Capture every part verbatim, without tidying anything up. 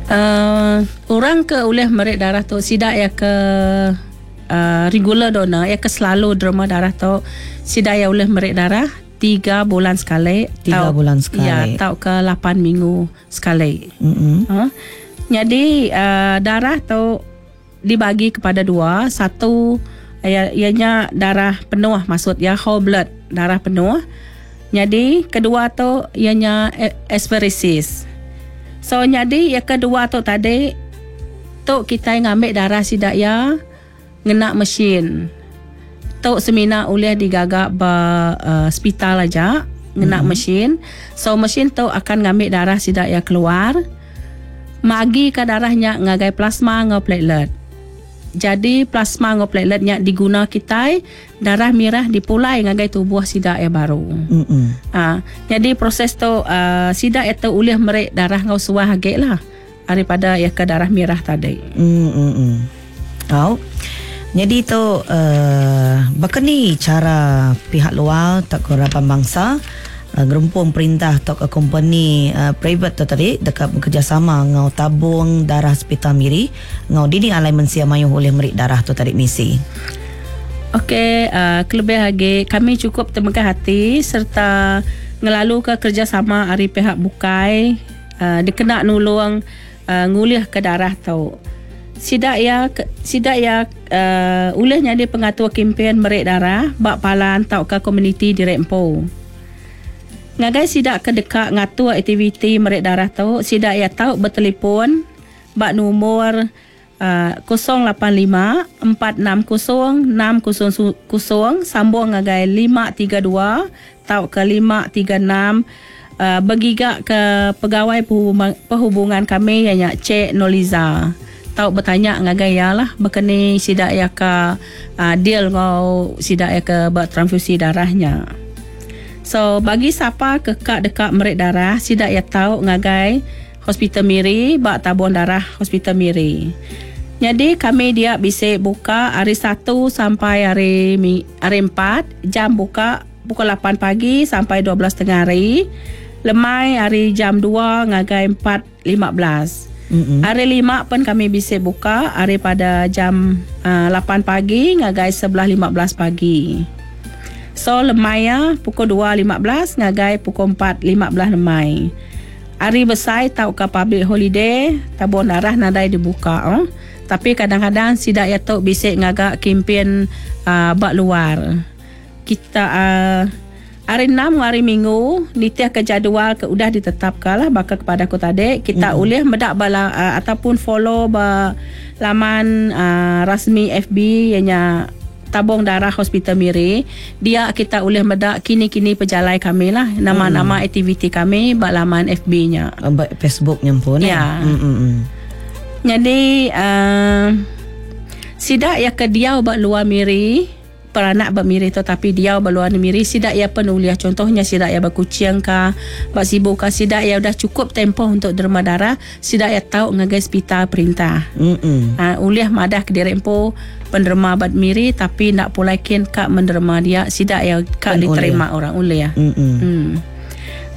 Uh, orang ke ulih merik darah tu sidak ya ke uh, regular donor ya ke selalu derma darah tu sidak ya ulih merik darah tiga bulan sekali. Tiga tau, bulan sekali. Ya, tau ke lapan minggu sekali. Mm-hmm. Uh, jadi uh, darah tu dibagi kepada dua. Satu ya, ianya darah penuh, maksud ya whole blood, darah penuh. Jadi kedua tu ianya apheresis. So jadi yang kedua tu tadi tu kita ngambil darah sidak ya ngena mesin. Tu semina ulih digagak ba uh, hospital aja ngena mm-hmm. mesin. So mesin tu akan ngambil darah sidak ya keluar. Magi ke darahnya ngagai plasma ngau platelet. Jadi plasma ngau plateletnya diguna kita, darah merah dipulai ngagai tubuh sidak ya baru. Mm-hmm. Ha, jadi proses tu uh, sidak itu ulih merik darah ngau suah agak lah daripada ya ke darah merah tadi. Mm-hmm. Oh. Jadi tu uh, bakani cara pihak luar tak kerapan bangsa uh, gerempung perintah atau ke company uh, private tu tadi dekat bekerjasama ngau tabung darah Hospital Miri ngau dini alai mensia mayuh oleh merik darah tu tadi misi. Okey, uh, kelebih lagi kami cukup temegah hati serta ngelalu ke kerjasama ari pihak bukai uh, dikena nulung uh, ngulih ke darah tu. Sidak ya sidak ya uh, ulih nyadi pengatur kempen merik darah bak palan tau ke komuniti di Rempo. Ngagai sidak ke dekat ngatur aktiviti merik darah tu, sidak ya tau bertelefon bak nomor uh, kosong lapan lima empat enam kosong enam kosong kosong sambung ngagai lima tiga dua tau ke lima tiga enam uh, bergiga ke pegawai perhubungan, perhubungan kami yang Cik Noliza. Tau bertanya ngagai ya lah berkeni sidak ya ke uh, deal ngau sidak ya ke buat transfusi darahnya. So bagi siapa kekak dekat merik darah sidak ya tau ngagai Hospital Miri bak tabung darah Hospital Miri. Jadi kami dia bisa buka hari satu sampai hari hari empat, jam buka pukul lapan pagi sampai dua belas tengah hari. Lemai hari jam dua ngagai empat lima belas. Mm-hmm. Hari lima pun kami bisa buka hari pada jam uh, lapan pagi ngagai sebelas lima belas pagi. So lemai ya pukul dua lima belas ngagai pukul empat lima belas lemai. Hari besar tau ke public holiday tabung darah nadai dibuka oh. Tapi kadang-kadang sidak ya tok bisik ngagak kempen uh, bak luar. Kita uh, hari enam hari Minggu nitiah ke jadual ke udah ditetapkan lah bakal kepada aku tadi kita mm. boleh medak bala uh, ataupun follow ba laman uh, rasmi F B ianya Tabung Darah Hospital Miri. Dia kita boleh medak kini-kini pejalai kami lah nama-nama mm. aktiviti kami bak laman F B-nya. Bak Facebooknya pun ya. Mm -mm. Jadi uh, sidak ya ke dia bak luar Miri peranak bak Miri tu tapi dia bak luar Miri sidak ya penuliah contohnya sidak ya bak Kuching ka bak Sibu ka sidak ya udah cukup tempoh untuk derma darah sidak ya tahu ngagai hospital perintah. Mm-mm. Ha, uliah madah ke diri empo penderma bak Miri tapi nak pulaikin kak menderma dia sidak ya kak Pen diterima uliah. Orang uliah. Mm.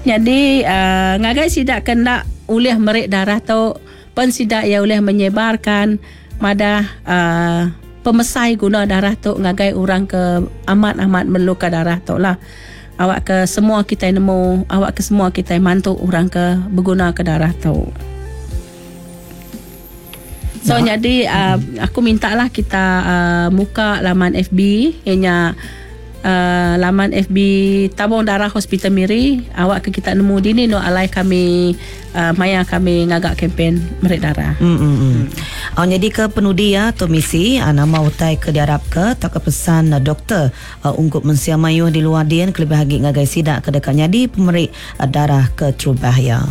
Jadi uh, ngagai sidak kena uliah merik darah tu pen sidak ya uliah menyebarkan madah uh, pemesai guna darah tu ngagai orang ke amat-amat memerlukan darah tu lah. Awak ke semua kita nemu, awak ke semua kita mantu orang ke berguna ke darah tu. So nah. jadi uh, aku minta lah kita uh, muka laman F B ianya uh, laman F B Tabung Darah Hospital Miri. Awak ke kita nemu dini no alai kami uh, maya kami ngagak kempen merik darah. Hmm, hmm, hmm. Oh, jadi ke penudi ya tu misi uh, nama utai ke diarap ke tak ke pesan uh, doktor uh, ungkup mensia mayuh di luar dian kelebih lagi ngagai sidak ke dekat nyadi pemerik uh, darah ke terubah ya.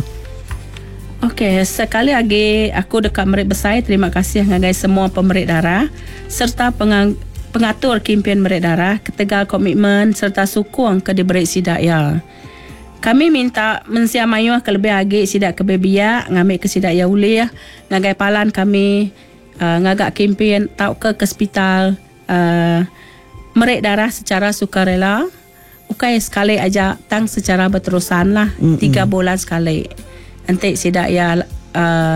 Okey, sekali lagi aku dekat merik besar terima kasih ngagai semua pemerik darah serta pengang, pengatur kempen merik darah ketegal komitmen serta sukung ke diberi sidak ya. Kami minta mensia mayuh ke lebih agi sidak ke bebiak ngambil ke sidak ya ulih ngagai palan kami uh, ngagak kempen tau ke ke hospital uh, merik darah secara sukarela. Ukai sekali aja tang secara berterusan lah Mm-mm. tiga bulan sekali. Nanti sidak ya uh,